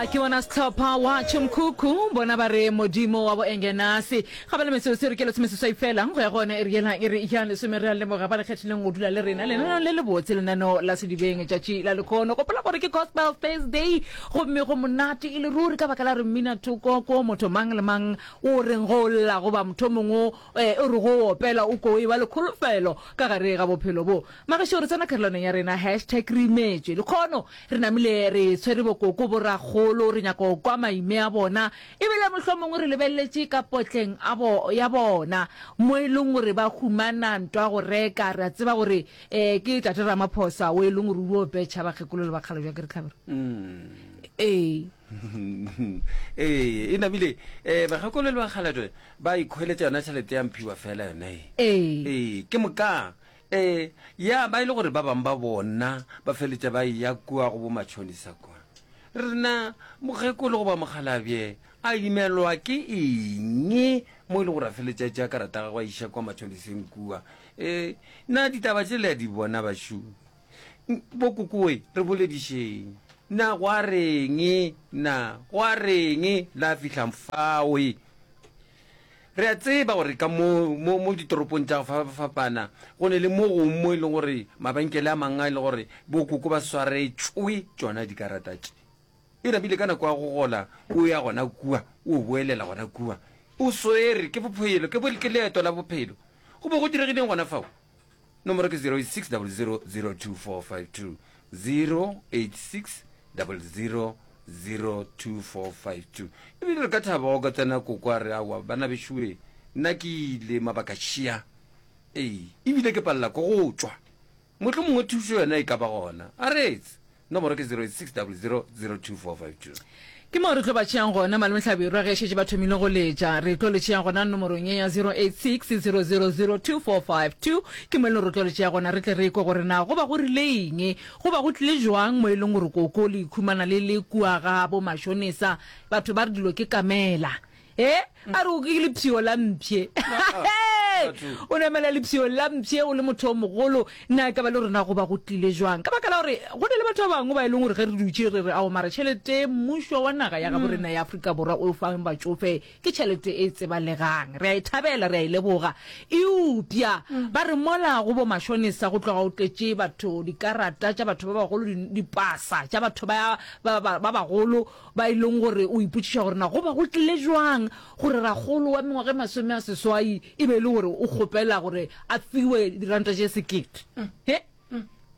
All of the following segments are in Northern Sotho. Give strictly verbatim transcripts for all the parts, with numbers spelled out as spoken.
Ba ke bona sehlopha wa Tšhomkhukhu, bona ba re Modimo wa bo Engenase. Ga ba le metsotso e re ke lesome seswai fela go ya go yona iri yela iri ya lesome. Re a leboga ba le kgethileng go dula le rena lenaneong le lebotse, lenaneo la Sedibeng tšatši la lekhono. Gopola gore ke Gospel Thursday gomme go monate e le ruri ka baka la re mmina thoko ko motho mang le mang o reng go lla goba motho mongwe o re go opela o ko e ba le kholofelo ka gare ga bophelo bo. Magešo re tsena karolwaneng ya rena hashtag re imetšwe. Lekhono re namile re tshwere bokoko borakgolo, re nyaka go kwa maime a bona ebile mohlomongwe re lebeleletše ka potleng a bo ya bona mo e leng gore ba humana ntwa go reka. Re a tseba gore um ke tate Ramaphosa o e leng gore o petšha bakgekolo le bakgalabje ke re tlhabero. Ee. Ee, e namile um bakgekolo le bakgalabje ba ikhweletša yona tšhelete ya mphiwa fela yona e. Ee. Ee, ke moka um ya ba e le gore ba bangwe ba bona ba feletša ba eya kua go bo matšhonisa kwa. Rena mokgekolo goba mokgalabje a imelwa ke eng mo e le gore a feletša tša karata gagwe a iša kwa matšhoniseng kua. Um na ditaba tše le a di bona bašu? Bokokoe re boledišeng. Na gwa reng? Na gwa reng la fihla fawe? Re a tseba gore ka mo, mo, mo ditoropong tša go fapana go ne le mo gongwe mo e leng gore mabenkele a mangwe a e le gore bokoko ba swaretšwe tšona dikarata tše. E namile ka nako ya go gola o ya gona kua, o boelela gona kua. O swere ke bophelo, ke, ke leeto la bophelo. Go be go diregileng gona fao? Nomoro ke zero eight six double zero zero two four five two, zero eight six double zero zero two four five two. Ebile re ka thaba go ka tsena koko a re aowa bana bešoe nna ke ile mabaka šia, ee ebile ke palela ko go tšwa, mohlomongwe thušo yona e ka ba gona. A reetse, nomoro ke zero eight six double zero zero two four five two. Ke moo re tlo ba tšeang gona malome Hlabirwa ge šetše ba thomile go letša. Re tlo le tšea gona nomorong ye ya zero eight six zero zero zero two four five two. Ke mo e leng re tlo le tšea gona re tle re kwe gore na go ba go rile eng, go ba go tlile jwang mo e leng gore koko le ikhumana le le kua ga bo mashonesa. Batho ba re dilo ke kamela. E a re o ke lepshio la mpšhe. O namela lepshio la mpšhe o le motho o mogolo. Na e ka ba le rena go ba go tlile jwang? Ka baka la gore go na le batho ba bangwe ba e leng gore ge re dutše re re ao mara tšhelete mmušo wa naga ya gabo rena ya Afrika Borwa o fang batšofe ke tšhelete e tsebalegang. Re a e thabela, re a e leboga. Eupša ba re mola go bo mashonesa go tloga o tletše batho dikarata tša batho ba bagolo, dipasa tša batho ba ba ba bagolo ba e leng gore o ipotšiša gore na go ba go tlile jwang gore rakgolo wa mengwaga e masome a seswai e be e le gore o kgopela gore a fiwe diranta tše sekete. He?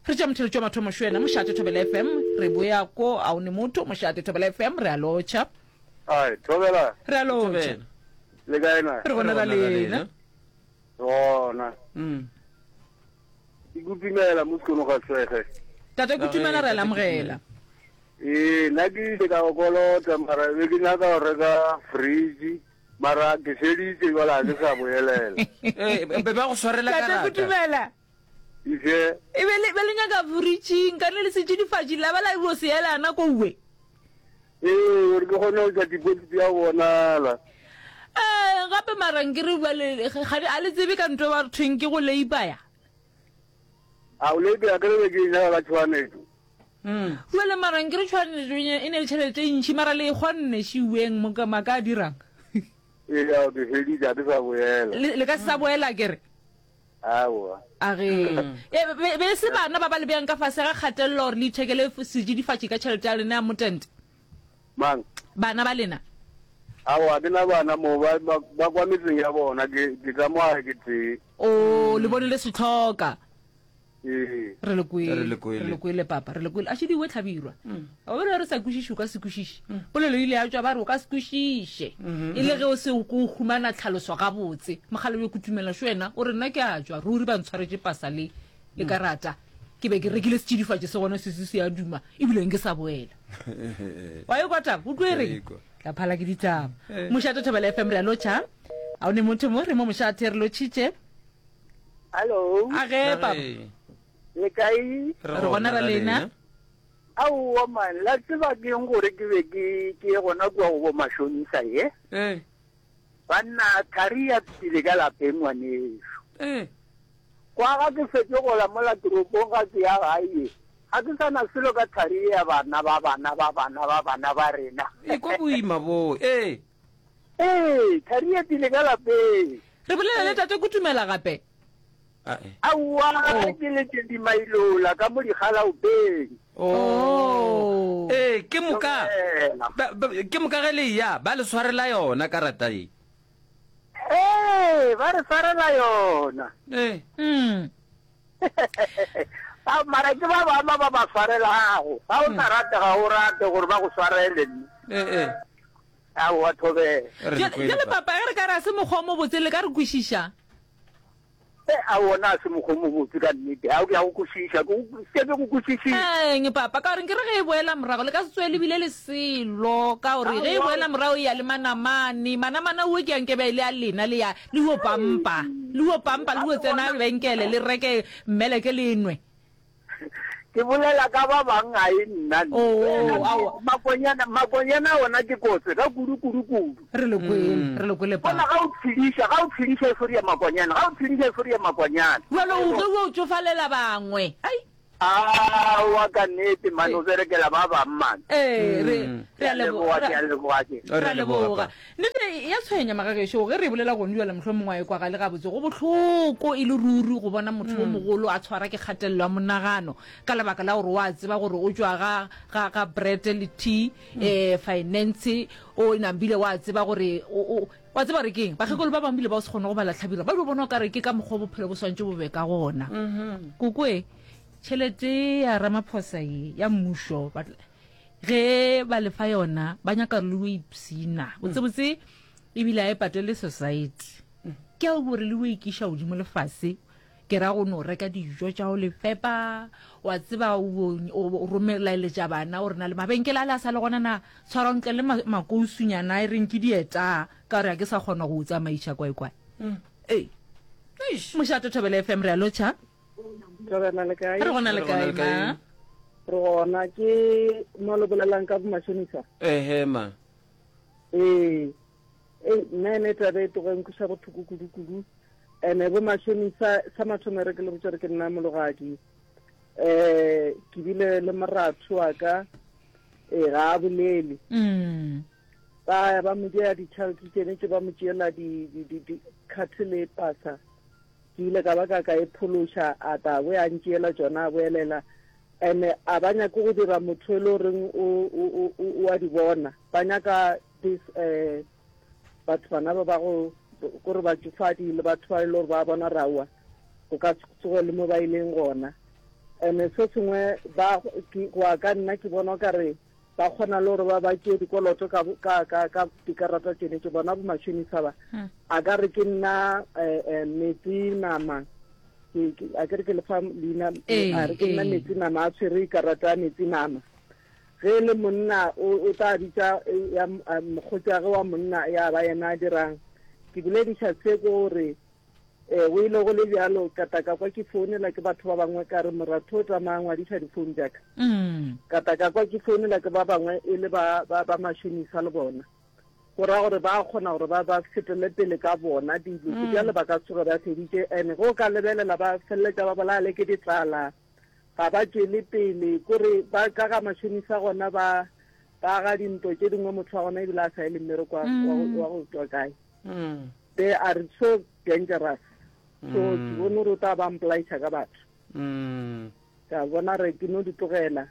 Re tšea motheletši wa mathomo šo yena, Mošate Thobela F M, re boya ko a o ne motho, Mošate Thobela F M, re a lotšha. Ai, Thobela. Re a lotšha. Le kae na? Re gona ra lena. Gona. Ke kutumela mo sekono ga swege. Tate Kutumela re a le amogela. Ee, nna ke ile ka go kolota mara be ke nyaka go reka fridge mara ke feditše jwale ga ke sa boelela. Ee, be ba go swarela Tate karata. Kutumela. Ife. E be le be le nyaka fridge nkane le setšidifatši la ba la bo se elana kowe. Ee, gore ke kgone go tša deposit ya go bonala. Ee, gape mara nkere bjale ga a le tsebe ka ntho ba re thweng ke go leipaya. A o leipaya ke re be ke e nyaka ka tšhoganetšo. Jwale mara nkere tšhoganetšo e ne le tšhelete e ntši mara le e kgonne šiweng mo maka a dirang. Ee, ao ke feditše, ga ke sa boela. Le, le ka se sa boela kere? Aowa. A ge. E, be, be e se bana ba ba le beang ka fase ga kgatelelo gore le ithekele setšidifatši ka tšhelete ya lena ya motente? Mang? Bana ba lena. Aowa, ke na bana mo, ba, ba, ba kwa metseng ya bona, ke, ke ka mo gae ke tee. O, le bone le se hloka. Ee. Re le kwele, Re le kwele. re le kwele papa, re le kwele. A šediwe Hlabirwa. Wa bona re sa kwešiše, o ka se kwešiše. Polelo e ile ya tšwa ba re o ka se kwešiše. E le ge o se o ko o humana tlhaloso gabotse. Mogala yo kutumela šo yena o re nna ke a tšwa, ruri ba ntshwaretše pasa le le karata. Ke be ke rekile setšidifatši se gona se se se a duma ebile nke sa boela. Wa e kwa taba? O tlo e reng? Tla phala ke ditaba. Mošate Thobela F M re a lotšha. A o ne motho mo re mo mošate re lotšhitše. Hello. A ge papa. Le kae? Re gona ra lena. Aowa man, la tseba ke eng gore ke be ke ke ye gona kua go bo mashonisa ye? Eh. Banna thari ya pele ka lapeng ngwanešu. Eh. Kwa ga ke fetše gola mola toropong ga ke ya gae ye. Ga ke sa na selo ka thari ya bana ba bana ba bana ba bana ba rena. Ekwa boima bo. Ee. Ee, thari e tile ka lapeng. Re bolela le tate Kutumela gape. Aowa, ke letše dimailola ka mo digalaopeng. Oh. Ee, ke moka. Ke moka ge le eya, ba le swarela yona karata ye. Ee, ba re swarela yona. Ee. Mm. Ba, mara ke ba bangwe ba ba swarelago. Ga o sa rate, ga o rate gore ba go swarele. Ee, ee. Aowa, thobela. Bjale papa, ge re ka re a se mokgwa o mobotse, le ka re kwešiša? E, aowa, na a se mokgwa o mobotse ka nnete. Ao, ke a go kwešiša. Ke go, ke go kwešišitše. Eng, papa? Ka gore nke re ge e boela morago, le ka se tsoge le bile le selo. Ka gore ge e boela morago e ya le manamane. Manamane ao ke a nke be e le a lena, le ya, le yo pampa. Le yo pampa, le yo tsena lebenkele, le reke mmeleke le nwe. Ke bolela ka ba bang ga e nna. Oh, aowa. Makonyana, makonyana ona ke kotse ka kudu kudu kudu. Re le kwele, re le kwele Bona papa. ga o tshediša, ga o tshediša e foria makonyana, ga o tshediša e foria makonyana. Bjalo o tlo o tšofalela bangwe. Ai. Aowa ka nnete man, o berekela ba bang man. Ee, re re a Ke a leboga, leboga. ke a leboga ke. Re a leboga. Nnete ya tshwenya magagešo, ge re bolela gone bjale mohlomongwe a e kwagale gabotse. Go bohloko e le ruri go bona motho o mogolo a tshwara ke kgatelelo ya monagano ka lebaka la gore wa tseba gore o tšwa ga, ga, ga bread le tea, eh, finance, o nambile wa tseba gore o, o, wa tseba gore keng. Bakgekolo ba bangwe bile ba o se kgone go bala hlabirwa, ba dio bona o ka re ke ka mokgwa bophelo bo swantše bo be ka gona. Kokoe, tšhelete ya Ramaphosa ye ya mmušo, ba ge ba lefa yona ba nyaka le o ipsina botsebotse, ebile a e patele society. Ke a gore le o ikiša godimo lefase, ke ra go no reka dijo tša go le fepa, wa tseba o, o romelaeletša bana gore na le mabenkele a le a sa le gona na tshwara ntle le makousunyana e reng ke dieta, ka gore a ke sa kgona go o tsamaiša kwae kwae. Ee, mošato Thobela F M, re a lotšha. Thobela le kae? Re gona le kae ma? Re gona. Ke mo le bolelang ka bomashonisa? Ehe ma. Ee. Ee, nna ene taba e tloga e nkweša bohloko kudu kudu. Ene bomashonisa sa mathomo re ke le botša re ke nna mologadi. Eh, ke bile le moratho wa ka, eh, ga a bolele. Mm. Ba ba mo dia ditšhelete tsene tše ba mo tšeela di, di, di, di card le pasa. Ke ile ka ba ka ka e phološa, a tla bo a ntšeela tšona a boelela. Ene a ba nyake go dira motho e le goreng o, o, o, o a di bona. Ba nyaka this, eh, batho bana ba ba go, kore batšofadi le batho ba e le gore ba bona raowa, go ka tsoge le mo ba ileng gona. Ene se sengwe ba, ke, go ya ka nna ke bona o ka re ba kgona le gore ba ba tšee dikoloto ka, ka, ka, ka dikarata tsene tše bona bomashonisa ba. A ka re ke nna, eh, eh, metsi nama. Ke, ke, a ke re ke le fa leina, Ee, a re ke nna ee. metsi nama, a tshwere karata ya metsi nama. Ge le monna o, o tla bitša, eh, ya, eh, mokgotsi wa gagwe wa monna ya ba yena a dirang. Ke bolediša se ke gore, eh, o ile go le bjalo, ka tla ka kwa ke founela ke batho ba bangwe ka re moratho o tsamaya ngwadiša difounu tša ka. Mm. Ka tla ka kwa ke founela ke ba bangwe e le ba, ba, ba mashonisa le bona. Go ra gore ba kgona gore ba, ba fetele pele ka bona dilo. Mm. Bjale ba ka tsoge ba feditše. Ene ge o ka lebelela ba feleletša ba bolaya le ke ditlala. Ga ba tšwele pele, kore ba ka ga mashonisa gona ba, ba ga dintwa tše dingwe motho wa gona ebile a sa ye le mmereko wa, wa go, wa go tswa kae. Mm. They are so dangerous. So Mm. ke bone gore o tla ba mpolaiša ka batho. Mm. Ka bona re ke no di tlogela.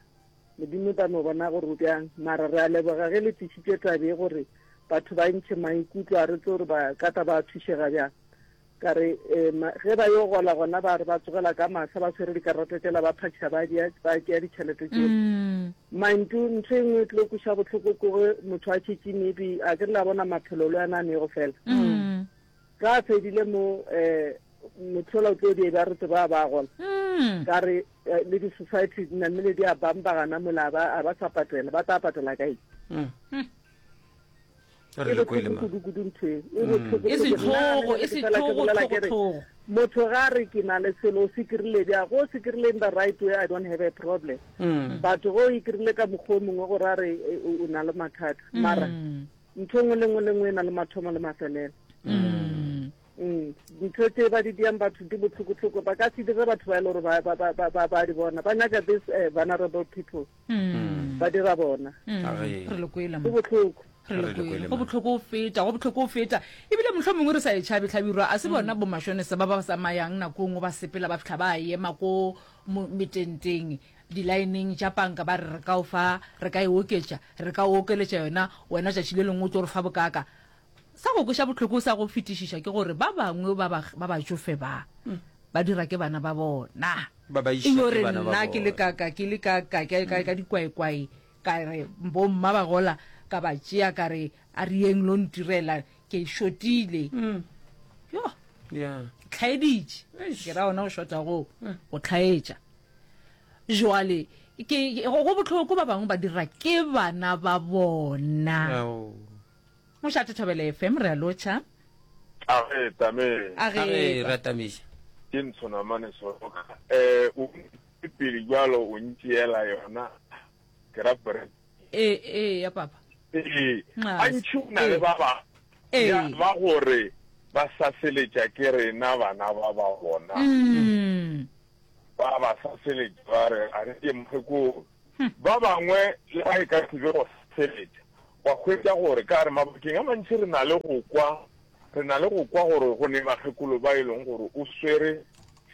Modimo tla no bona gore o bjang. Mara re a leboga ge le tlišitše tabe gore batho ba ntšhe maikutlo a re tse gore ba ka tla ba thušega bjang. Ka re, eh, ma-, ge ba yo gola gona ba re ba tsogela ka masa ba tshwere dikarata tšela ba phatša ba dia, ba tšea ditšhelete tšela. Mm. Mantu, ntho e nngwe e tlo kweša bohloko ke ge motho a tšhetše maybe, a ke re la bona maphelo le yona a nego fela. Mm. Ka a fedile mo, eh, motho ola o tlo di ba re tseba ba gola. Mm. Ka re, eh, le di-society di namile di a bambagana mola, a ba, a ba sa patela, ba tla patela kae? Mm. Mm. Re le kwele ma. E bohloko kudu ntho e. E bohloko E kudu. sehlogo, Nna e ke fela ke sehlogo, bolela ke re, tlhogo, tlhogo. Motho ga re ke na le selo, o se kry-ile bjang? Go se kry-ile in the right way, I don't have a problem. Mm. But go e kry-ile ka mokgwa o mongwe gore a re, e, o, o na le mathata. Mara, Mm. ntho nngwe le nngwe le nngwe e na le mathomo le mafelelo. Mm. Mm, dintho tse ba di diang batho di botlhokotlhoko ba ka se dire batho ba e le gore ba- ba- ba ba- ba- ba di bona ba nyaka this eh, vulnerable people Mm. ba dira bona Mm. Age. Re le kwele go mo. botlhoko Re le Re le kwele. kwele, Go ma. botlhoko go feta, go botlhoko go feta. Ebile mohlomongwe re sa e tšhabe hlabirwa, a se bona bo mashonisa ba ba tsamayang nako e nngwe ba sepela ba fihla ba ema ko mo metenteng di-lineng tša panka ba re re ka o fa, re ka e oketša, re ka o okeletša yona, wena tšatši le lengwe o tlo re fa bokaka. Sa go kweša bohloko sa go fetišiša ke gore ba bangwe ba ba ba batšofe ba ba dira ke bana ba bona. Ba ba iša E yo ke re bana ba nna ke le bona. ka ka ke le ka ka ka ka ka dikwaekwae ka re bomma ba gola ka ba tšea ka re a re yeng lo ntirela ke shotile. Yo, Yeah. tlhaeditše. Eish. Ke ra ona go shota go go tlhaetša. Jwale ke go go bohloko ba bangwe ba dira ke bana ba bona. Ao. Mošate Thobela F M re a lotšha. Age tame A Age, ge re atamiša. ke ntshona mane soroka. Eh o pele jwalo o ntšeela yona ke ra pre. e e ya papa. Ee, Nxa. a ntšhi o na le Ee. ba ba Ee. ya ba gore ba saseletša ke rena bana ba ba bona. Mm. Ba ba saseletša ba re a re ke mokgekolo. Ba bangwe le ga e ka se be go saseletša wa hwetša gore ka re mabakeng a mantši re na le go kwa re na le go kwa gore go ne bakgekolo ba e leng gore o swere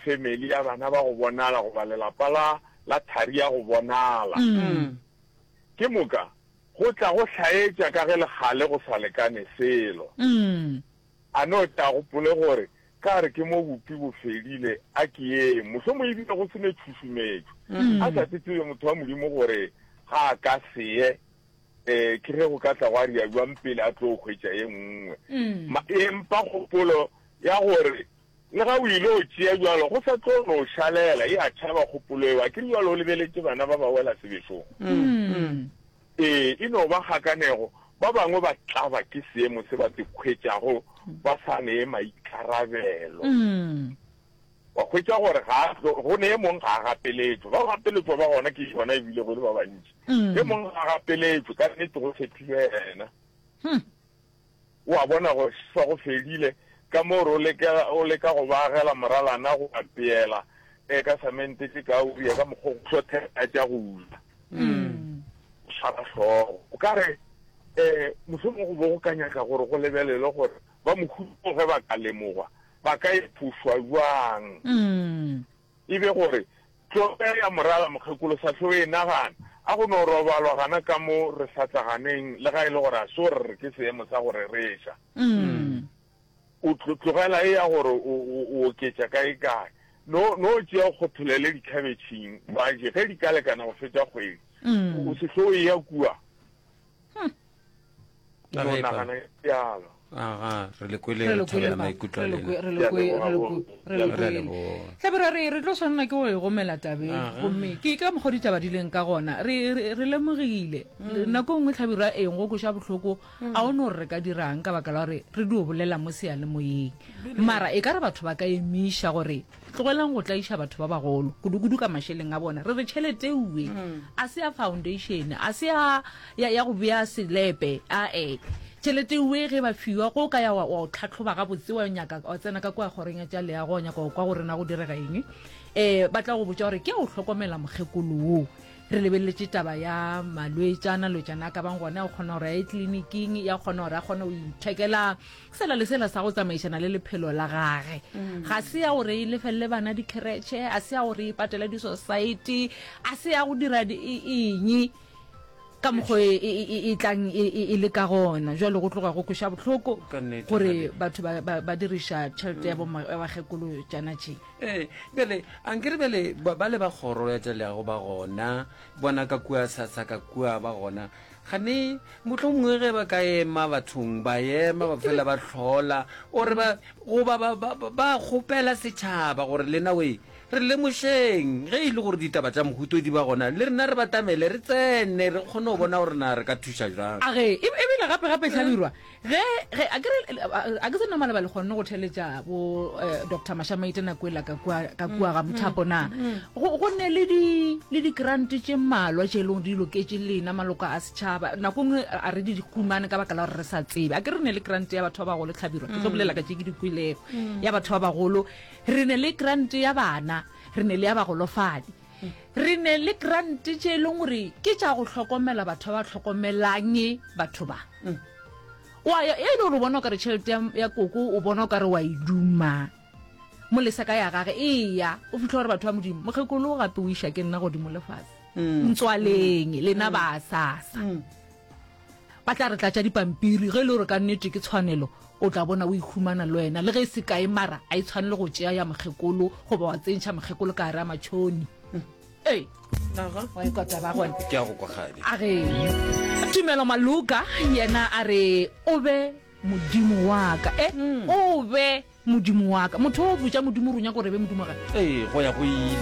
family ya bana ba go bonala goba lelapa la la thari ya go bonala. Mm. Ke moka go tla go hlaetša ka ge legale go sa lekane selo. Mm. A no tla gopole gore ka re ke mo bopi bo fedile a ke ye mohlomong ebile go sene tšhušumetšo. A sa tsebe motho wa Modimo gore ga a ka seye eh ke ge go ka tla gwa ria jwang pele a tlo hwetša ye nngwe. Mm. Ma- empa kgopolo ya gore le ga o ile o tšea jwalo go sa tlo no šalela e a tšhaba kgopolo eo a ke re jwalo o lebeletše bana ba ba wela sebešong. Mm. Ee, e no ba kgakanego ba bangwe ba tlaba ke seemo se ba se hwetšago ba sa nee maikarabelo. Mm. Wa hwetša gore ga a tlo- go ne e mong ga a gapeletšwe ba gapeletšwa ba gona ke yona ebile go le ba bantši. Mm. E mong ga a gapeletšwe ka nnete go tshepiwe yena. Hmm. O a bona go sa go fedile ka moo re o leka o leka go ba agela moralana go apeela e ka samente ke ka o ka mokgwa go hlothela tša go ja. Mm. O swara hlogo. O ka re eh mohlomong go bo go ka nyaka gore go lebelele gore ba mohuta ge ba ka lemogwa ba ka iphušwa jwang. Mm. E be gore tloge ya morala mokgekolo sa hlo e nagana a go no robalwa gana ka mo re sa tlaganeng le ga e le gore a se gore re ke seemo sa go rereša. Mm. O tlo- tlogela e ya gore o o- o oketša kae kae. No no tšea o kgotholele dikhabetšheng ba je ge di ka lekana go fetša kgwedi. Mm. O se hlo e ya kua. A No ge, pa. nagana bjalo. Aga, re le kwele Re re le kwele thabela papa. maikutlo a Re le lena. kwe- re le kwe- re le kwe- re le Re a kwele. leboga. Hlabirwa re re tlo tshwanela ke go e gomela tabeng Aha. gomme ke ka mokgwa ditaba di leng ka gona re re re lemogile nako e nngwe Hlabirwa eng go kweša bohloko a o no re re ka dirang ka baka la gore re dio bolela mo seyalemoyeng mara e ka re batho ba ka emiša gore tlogelang go tlaiša batho ba bagolo kudu-kudu ka mašeleng a bona re re tšhelete uwe a se ya foundation a se ya ya ya go bea selepe ae tšhelete uwe ge ba fiwa go ka ya wa wa o tlhatlhoba gabotse wa nyaka wa tsena ka kua kgoreng ya tša leago wa nyaka go kwa gore na go direga eng um ba tla go botša gore ke ya go hlokomela mokgekolo wo re lebeletše taba ya malwetšana lwetšana a ka bang gona ya go kgona gore a ye tleliniking ya kgona gore a kgone go ithekela sela le sela sa go tsamaišana le lephelo la gage ga se ya gore e lefelele bana dikheretšhe a se ya gore e patele di-society a se ya go dira di- e- eng ka mokgwa e, e, e, e tlang e, e, e le ka gona jwale go tloga go kweša bohloko Ka nnete, gore Gabi. batho ba, ba, ba diriša tšhelete ya bo ya bakgekolo tšana tše Ee, bjale ankere bjale ba ba le ba kgoro ya tša leago ba gona bona ka kua sasa ka kua ba gona gane mohlomongwe ge ba ka ema bathong ba ema ba fela ba hlola ore ba goba ba, ba, ba, ba kgopela setšhaba gore lena we re lemošeng ge e le gore ditaba tša mohuto di ba gona le rena re batamele re tsene re kgone go bona gore na re ka thuša jang age e- ebile Ene gape gape hlabirwa ge ge a ke re a ke se nna maleba le kgonne go theletša bo eh, Doctor Mashamaite nako ela ka kua ka kua ga mothapo na go go ne le di le di grant tše mmalwa tše e leng di loketše lena maloko a setšhaba nako nngwe a re di humane ka baka la gore re sa tsebe a ke re ne le grant ya batho ba bagolo hlabirwa ke tlo bolela ka tše ke di kwelego ya batho ba bagolo re ne le grant ya bana re ne le ya bagolofadi re ne le grant tše e leng gore ke tša go hlokomela batho ba ba hlokomelang batho ba wa ya e le gore o bona o kare tšhelete ya, ya koko o bona o kare wa e duma molesa ka ya gage eya o fitlha gore batho ba modimo mokgekolo gape o iša ke nna godimo lefase ntswaleng lena ba sasa ba tla re tlatša dipampiri ge e le gore ka nnete ke tshwanelo o tla bona o ikhumana le wena le ge e se kae mara a e tshwanele go tšea ya mokgekolo goba wa tsentšha mokgekolo ka gare a matšhoni ee wa ikwa taba gone ke a go kwa kgadi a re tumelo maluka yena a re o be modimo wa ka e o be modimo wa ka motho o botša modimo gore o nyaka gore e be modimo wa gage ee go ya go ile